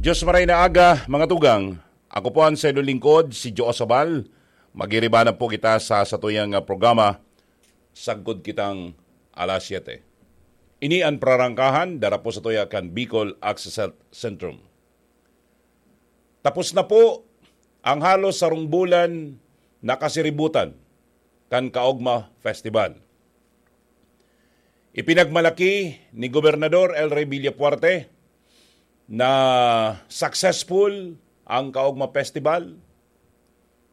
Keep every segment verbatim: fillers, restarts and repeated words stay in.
Diyos maray na aga, mga tugang. Ako po ang sayo lingkod, si Joe Sabal. Magiriba na po kita sa satuyang, ah, programa, Sagkod Kitang Alas Siyete. Ini an prarangkahan, dara po satuya kan Bicol Access Health Centrum. Tapos na po ang halos sarong bulan na kasiributan kan Kaogma Festival. Ipinagmalaki ni Gobernador El Rey Villafuerte na successful ang Kaogma Festival.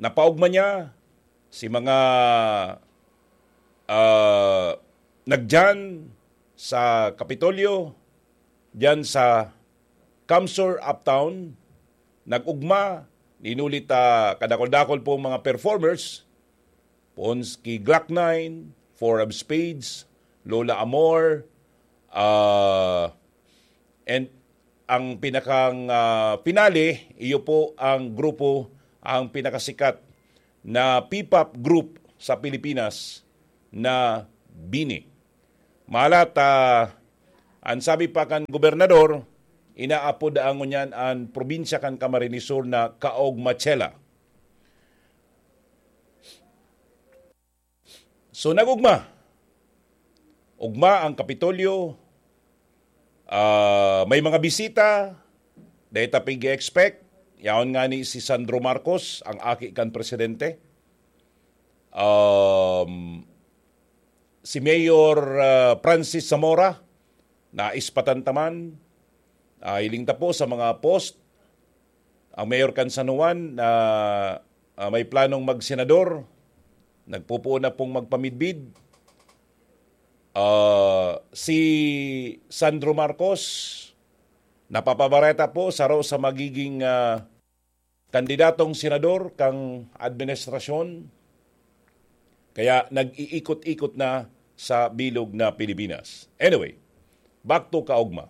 Napaogma niya si mga, ah, nagdiyan sa Kapitolyo, diyan sa Kamsur Uptown, nag-ugma, inulit, ah, kadakol-dakol pong mga performers, poon ki Glock nine, Four of Spades, Lola Amor, ah, and ang pinakang, ah, finale, iyo po ang grupo, ang pinakasikat na P-pop group sa Pilipinas na Bini. Malat, ah, an sabi pa kan gobernador, inaapod ngunyan an probinsya kan Camarines Sur na Kaogmachela. So, nag-ugma. Ugma ang Kapitolyo. Ah, may mga bisita. Dai ta pig-expect. Yaon nga ni si Sandro Marcos, ang aki kan presidente. Um, si Mayor, ah, Francis Zamora, naispatan ta man. Ah, hiling ta po sa mga post. Ang mayor kan San Juan na, ah, may planong magsenador, nagpupuon na pong magpamidbid. Ah, si Sandro Marcos, napapabareta po, saro sa magiging, ah, kandidatong senador kang administrasyon. Kaya nag-iikot-ikot na sa bilog na Pilipinas. Anyway, back to Kaogma.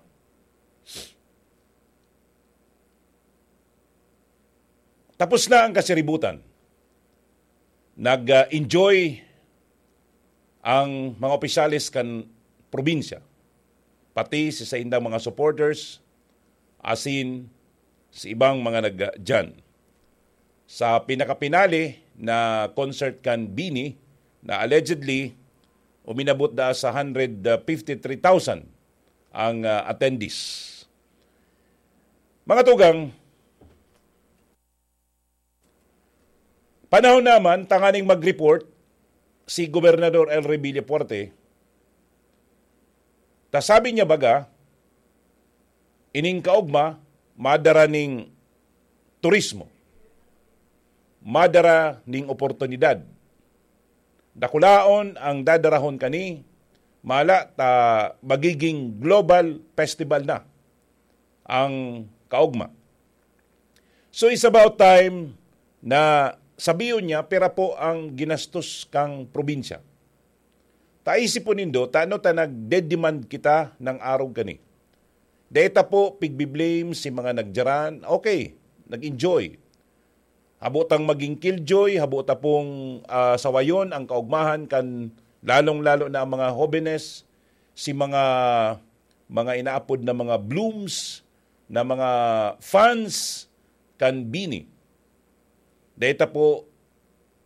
Tapos na ang kasiributan. Nag-enjoy ang mga opisyales kan probinsya, pati si saindang mga supporters, asin si ibang mga nagdiyan. Sa pinakapinali na concert kan Bini, na allegedly uminabot da sa hundred fifty-three thousand ang, ah, attendees. Mga tugang, panahon naman tanganing mag-report si Gobernador El Rey Villafuerte, ta sabi niya baga, ining Kaogma, madara ning turismo, madara ning oportunidad. Dakulaon ang dadarahon kani, mala ta magiging global festival na ang Kaogma. So, it's about time na sabiyon niya pira po ang ginastos kang probinsya. Ta isipon nindo, tano ta nagde-demand kita ng arog kani? Dai ta po pigbi-blame si mga nagdiyan. Okay, nag-enjoy. Habo tang maging killjoy, habo ta pong, ah, sawayon ang kaogmahan kan lalong-lalo na ang mga hobenes, si mga, mga inaapod na mga blooms, na mga fans kan Bini. Dai ta po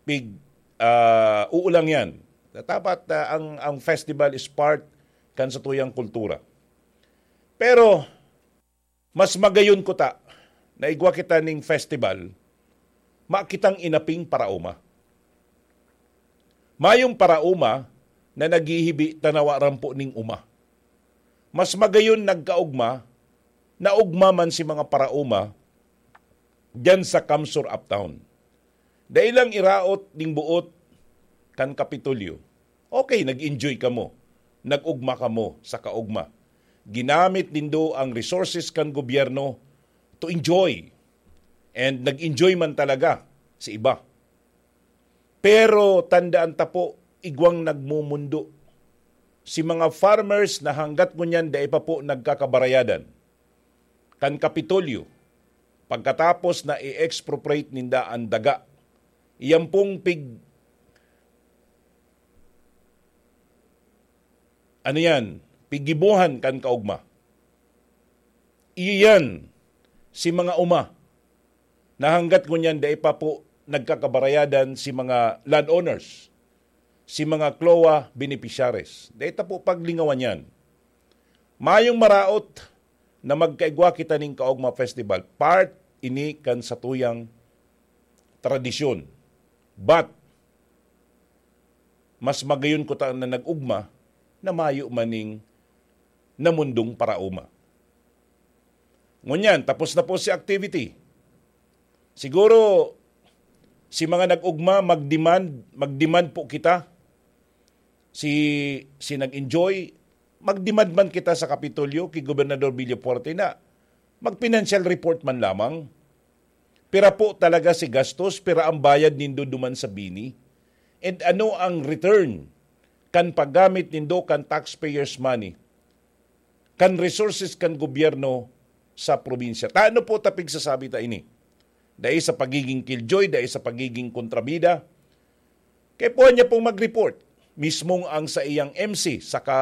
pig, ah, uulang yan. Dapat, ah, ang, ang festival is part kan satuyang kultura. Pero, mas magayon kuta na igwa kita ning festival, makitang inaping paraoma. Mayong paraoma na naghihibi ta na wa rampo ning oma. Mas magayon nagkaogma, naogma man si mga paraoma diyan sa Kamsur Uptown. Dai lang iraot ning boot kan Kapitolyo. Okay, nag-enjoy kamo. Nag-ugma kamo sa kaogma. Ginamit nindo ang resources kan gobyerno to enjoy. And nag-enjoy man talaga si iba. Pero tandaan ta po, igwang nagmumundo. Si mga farmers na hanggat ngunyan dai pa po nagkakabarayadan kan Kapitolyo, pagkatapos na i-expropriate ninda ang daga, iyan pong pig-, ano yan, piggibohan kan kaogma. Iyan, si mga uma, na hanggat ngunyan dai pa po nagkakabarayadan si mga landowners, si mga CLOA beneficiaries. Dai ta po paglingawan yan. Mayong maraot na magkaigwa kita ning Kaogma Festival. Part ini kan satuyang tradisyon. But, mas magayon ko ta na nag-ugma na mayo man ning namundong paraoma. Ngunyan, tapos na po si activity. Siguro, si mga nag-ugma, mag-demand, mag-demand po kita. Si, si nag-enjoy, mag-demand man kita sa Kapitolyo ki Gobernador Villafuerte na mag-financial report man lamang. Pira po talaga si gastos, pira ang bayad nindo duman sa BINI? And ano ang return kan paggamit nindo kan taxpayers' money, kan resources kan gobyerno sa probinsya? Tano po ta pigsasabi ta ini? Dai sa pagiging killjoy, dai sa pagiging kontrabida. Kaya po niya pong mag-report. Mismong ang sa iyang M C, saka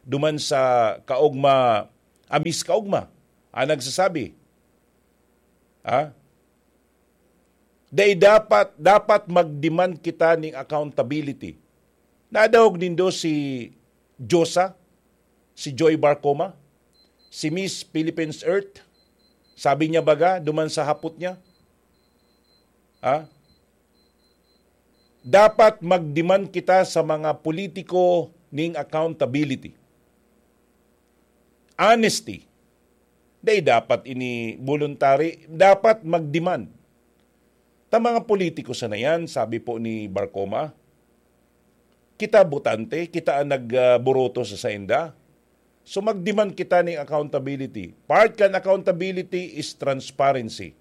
duman sa Kaogma, Amis Kaogma, ang nagsasabi. Ha? Dai dapat, dapat mag-demand kita ning accountability. Nadahog nindo si Josa, si Joy Barcoma, si Miss Philippines Earth. Sabi niya baga, duman sa hapot niya, ha? Dapat mag-demand kita sa mga politiko ning accountability. Honesty. Dai dapat ini voluntary, dapat mag-demand. Ta mga politiko sana yan, sabi po ni Barcoma. Kita botante, kita ang nagburoto sa sainda. So mag-demand kita ning accountability. Part kan accountability is transparency.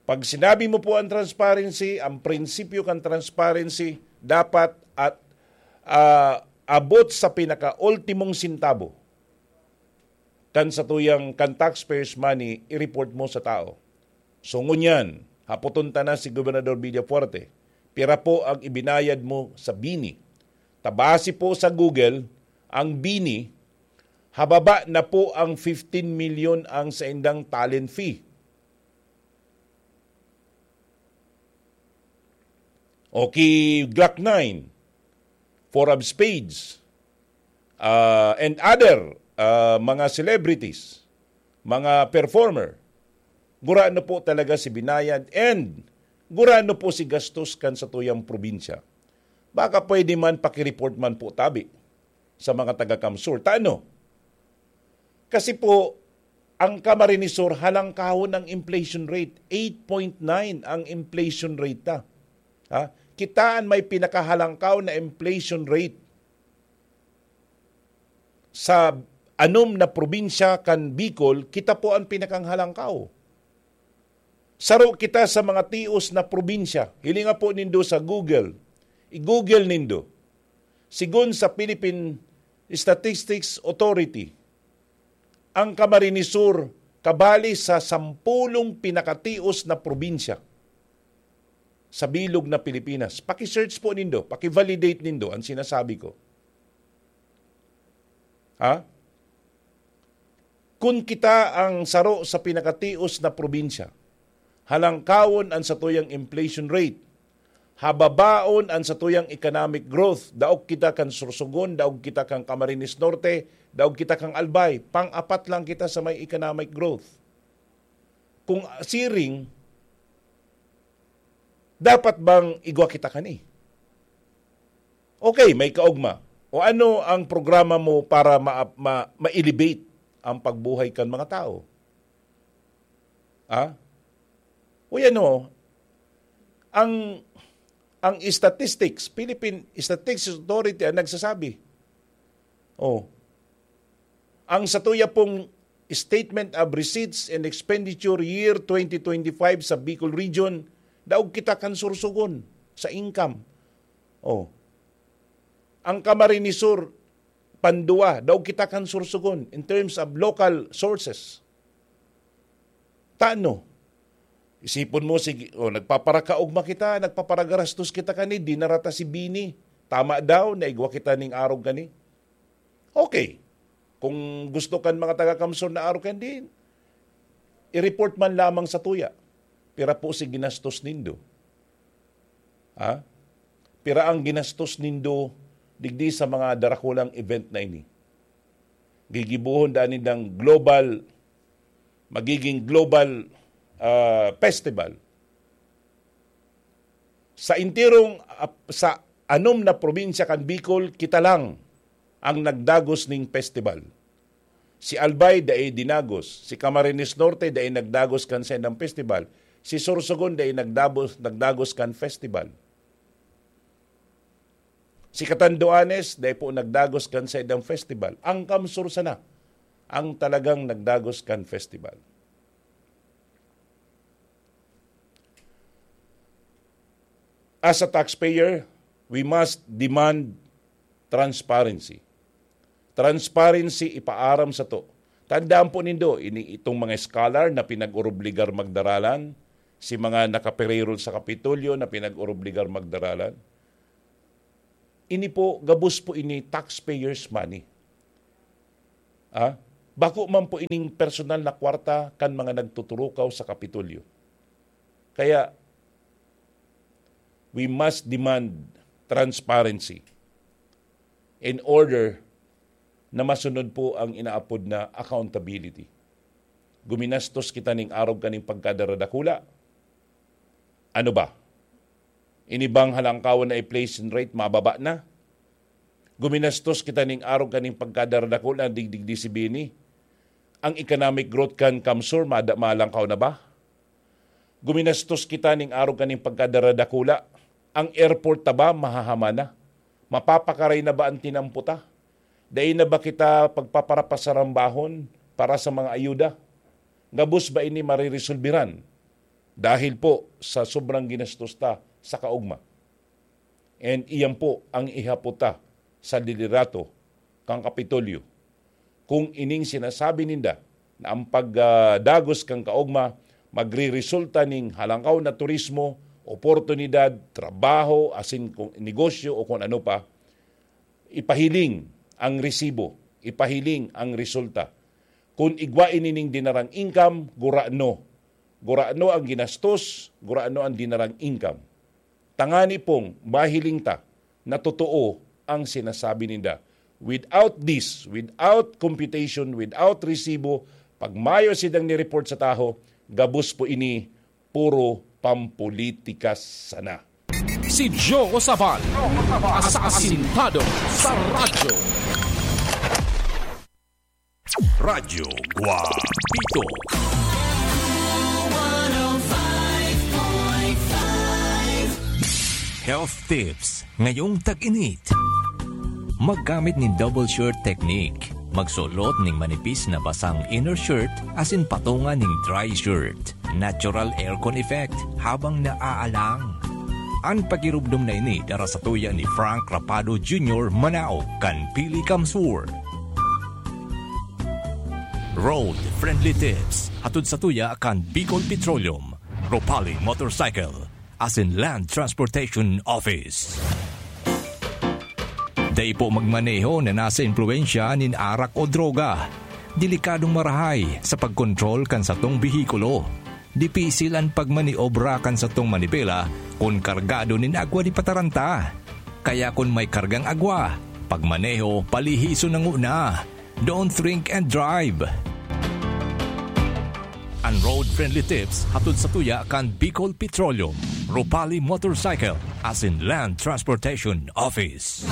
Pag sinabi mo po ang transparency, ang prinsipyo kan transparency, dapat at, ah, abot sa pinaka-ultimong sentabo kan satuyang, kan taxpayers' money, i-report mo sa tao. So, ngunyan, hapoton ta na si Gobernador Villafuerte, pira po ang ibinayad mo sa BINI? Ta base po sa Google, ang BINI, hababa na po ang fifteen million ang saindang talent fee. O ki Glock nine, Four of Spades, ah, and other, ah, mga celebrities, mga performer, gurano po talaga si binayad and gurano po si gastos kan satuyang probinsya. Baka pwede man paki-report man po tabi sa mga taga-CamSur. Ta ano? Kasi po, ang Camarines Sur, halangkahon ang inflation rate. Eight point nine ang inflation rate ta. Ha? Kita an may pinakahalangkaw na inflation rate sa anom na probinsya kan Bicol, kita po an pinakanghalangkaw. Saro kita sa mga tios na probinsya. Hilinga po nindo sa Google. I-Google nindo. Sigon sa Philippine Statistics Authority, ang Camarines Sur kabali sa sampulong pinakatios na probinsya sa bilog na Pilipinas. Paki-search po nindo, paki-validate nindo ang sinasabi ko. Ha? Kun kita ang saro sa pinakatios na probinsya, halangkawon an satuyang inflation rate, hababaon an satuyang economic growth, daog kita kan Sorsogon, daog kita kan Camarines Norte, daog kita kan Albay, pang-apat lang kita sa may economic growth. Kung siring, dapat bang igwa kita kani? Okay, may kaogma. O ano ang programa mo para ma-, ma-, ma-elevate ang pagbuhay kan mga tao? Ha? O yan o, ang, ang statistics, Philippine Statistics Authority ang nagsasabi. Oh. Ang satuya pong Statement of Receipts and Expenditure Year twenty twenty-five sa Bicol Region, daog kita kan Sorsogon sa income. Oh. Ang Camarines Sur, pandua, daog kita kan Sorsogon in terms of local sources. Tano? Isipon mo, sige, oh, nagpaparakaogma kita, nagpaparagarastos kita kani, dinara ta si BINI. Tama daw, naigwa kita ning arog kani. Okay. Kung gusto kan mga taga-CamSur na arog kani, I-report man lamang sa tuya. Pira po si ginastos nindo? Ha? Pira ang ginastos nindo digdi sa mga darakulang event na ini? Gigibohon daan nindang global, magiging global, ah, festival. Sa enterong, ah, sa anom na probinsya kan Bicol, kita lang ang nagdagos ning festival. Si Albay dai dinagos, si Camarines Norte dai nagdagos kan saindang festival, si Sorsogon dai nagdabos, nagdagos kan festival. Si Catanduanes dai po nagdagos kan saindang festival. Ang CamSur sana ang talagang nagdagos kan festival. As a taxpayer, we must demand transparency. Transparency ipaaram sato. Tandaan po nindo, ini, itong mga scholar na pinag-orobligar magdaralan, si mga nakaperirol sa Kapitolyo na pinag-orobligar magdaralan, ini po, gabos po ini taxpayers' money. Ah, bako man po ining personal na kwarta kan mga nagtuturukaw sa Kapitolyo. Kaya, we must demand transparency in order na masunod po ang inaapod na accountability. Guminastos kita ning arog kaning pagkadaradakula. Ano ba? Ini bang halangkawan na inflation rate mababa na? Guminastos kita ning arog kaning pagkadaradakula digdigdi si Bini. Ang economic growth kan CamSur mada-, malangkaw na ba? Guminastos kita ning arog kaning pagkadaradakula. Ang airport ta ba mahahaman na? Mapapakaray na ba ang tinampo ta? Dai na ba kita pagpaparapasarambahon para sa mga ayuda? Gabos ba ini mariresolbiran dahil po sa sobrang ginastos ta sa kaogma? And iyan po ang ihapot ta sa liderato kan Kapitolyo. Kung ining sinasabi ninda na ang pagdagos kan kaogma magreresulta ning halangkaw na turismo, oportunidad, trabaho, asin kung negosyo o kung ano pa, ipahiling ang resibo, ipahiling ang resulta. Kun igwa ini ning dinarang income, gurano. Gurano ang ginastos, gurano ang dinarang income. Tangani pong mahiling ta na totoo ang sinasabi ninda. Without this, without computation, without resibo, pag mayo sidang ni-report sa taho, gabos po ini, puro pampolitika sana. Si Joe Sabal, asasintado sa radyo. Radyo Guapito. Health tips ngayong tag-init. Maggamit nin double shirt technique. Magsulot ning manipis na basang inner shirt asin patunga ning dry shirt. Natural aircon effect habang naaalang. An pagirubdom na ini dara sa tuya ni Frank Rapado Junior, manao kan Pili CamSur. Road Friendly Tips, hatod sa tuya kan Bicol Petroleum, Ropali Motorcycle, asin Land Transportation Office. Dai po magmaneho na nasa impluwensya nin arak o droga. Delikadong marahay sa pagkontrol kan satong behikulo. Dipisil an pagmaniobra kan satong manibela kun kargado nin agwa di pataranta. Kaya kun may kargang agwa, pagmaneho palihison na nguna. Don't drink and drive. An road-friendly tips hatod sa tuya kan Bicol Petroleum, Ropali Motorcycle, asin Land Transportation Office.